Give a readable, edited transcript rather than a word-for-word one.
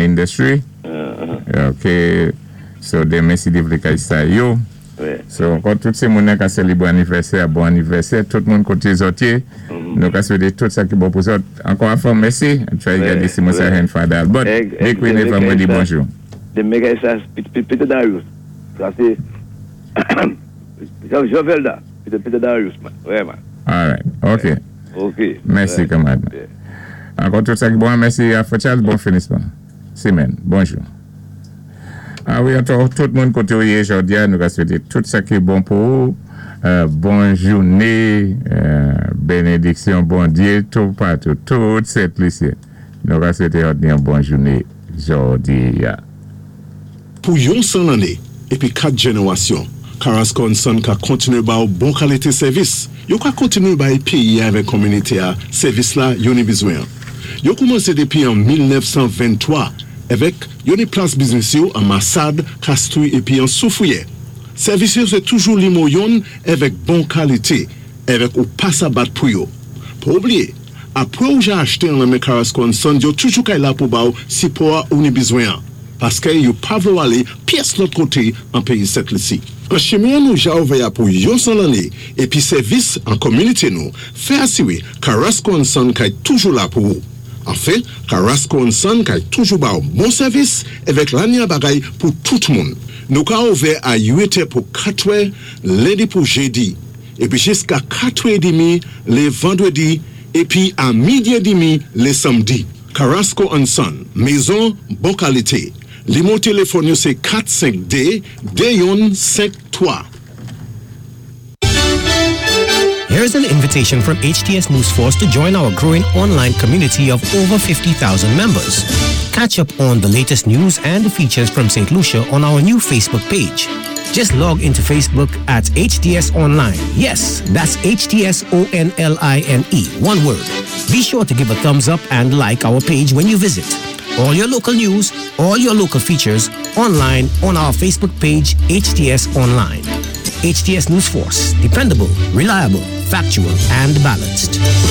industry. Ok, so denmen si Dye vlé kay sa yo. So ankò tout sé moun ka sélébwé anivèsè, bon anivèsè, tout moun koté zòt yé. Nou ka swété tout sa ki bon pou zòt. Ankò an fwa, mèsi. Try gadé si mwen sa jwenn Father Albert. Depi vandrédi, bonjou. Denmen kay sa, Peter Darius. Sa sé Jean Velda. Peter Darius, man. Vrèman. All right. Ok. Ok. Mèsi, kanmarad. Ankò tout sa ki bon, mèsi a Frè Charles, bon finisman. Sémèn. Bonjou. A wi, ankò tout moun koté ou yé jòdi a, nou ka swété tout sa ki bon pou ou. Bon jouné, bénédiksyon Bondyé tout patou, tout Sent Lisyen. Nou ka swété yon bon jouné jòdi a. Pou yon 100 lanné épi 4 jénéwasyon, Carrasco and Son ka kontinué ba ou bon kalité sèvis. Yo ka kontinué bay péyi avèk kominité a sèvis la yo ni bizwen. Yo koumansé dépi an 1923 avèk yo ni plas biznis yo an Massade, Castries épi an Soufrière. Sèvis yo sé toujou nimewo youn avèk bon kalité, avèk ou pa sa bat pou yo. Pa oubliyé, apwé ou ja achté an nan men Carrasco and Son, yo toujou kay la pou ba ou sipò ou ni bizwen. Paské yo pa vlé alé pyès lòt koté an péyi Sent Lisi. An chimen nou ja ouvè pou yon 100 lanné épi sèvis an kominité nou, fè asiwé Carrasco and Son kay toujou la pou ou. Anfen, Carrasco and Son kay toujou ba ou bon sèvis avèk lanya bagay pou tout moun. Nou ka ouvè a 8 pou 4 lendi pou jédi, épi jiska 4 édmi lé vandrédi, épi a midi édmi lé samdi. Carrasco and Son, mézon bon kalité. Nimewo téléfòn yo sé 452 2153. Here's an invitation from HTS News Force to join our growing online community of over 50,000 members. Catch up on the latest news and features from St. Lucia on our new Facebook page. Just log into Facebook at HTS Online. Yes, that's HTS O N L I N E. One word. Be sure to give a thumbs up and like our page when you visit. All your local news, all your local features online on our Facebook page, HTS Online. HTS News Force. Dependable, reliable, factual, and balanced.